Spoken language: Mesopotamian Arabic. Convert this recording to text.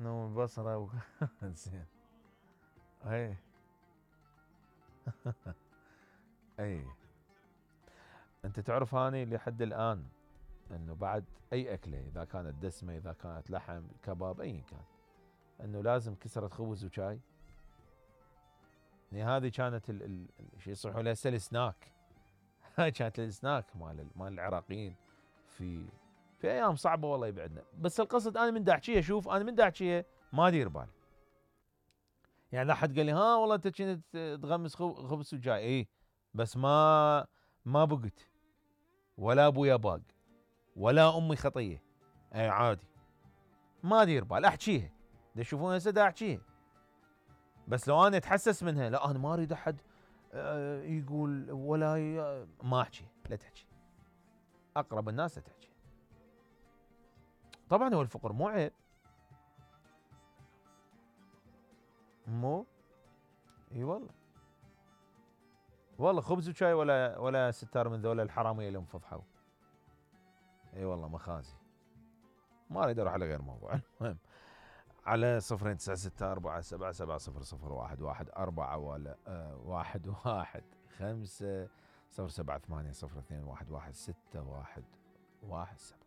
نوم البصرة زين. اي اي انت تعرف اني لحد الان انه بعد اي اكله اذا كانت دسمه اذا كانت لحم كباب ايا كان انه لازم كسرة خبز وشاي. يعني هذه كانت شو يصيحوا لها هسه السناك. هاي كانت السناك مال العراقيين في ايام صعبه والله يبعدنا. بس القصد انا من دا احكيها، شوف انا من دا احكيها ما ادير بال. يعني لا حد قال لي ها والله انت كنت تغمس خبز وشاي، اي بس ما بقت ولا ابويا باق ولا امي خطيه، اي عادي ما ادير بال احكيها. دا تشوفون هسه دا احكيها، بس لو انا اتحسس منها لا انا ما اريد احد يقول ولا ما احكي. لا تحكي، اقرب الناس لا تحكي. طبعا هو الفقر مو عيب، مو اي والله. والله خبز وشاي ولا ستار من ذولا الحراميه اللي انفضحوا. اي والله مخازي. ما اريد اروح على غير موضوع. المهم على 09647770011 ولا 11 5 078 0211 6 1 1 7.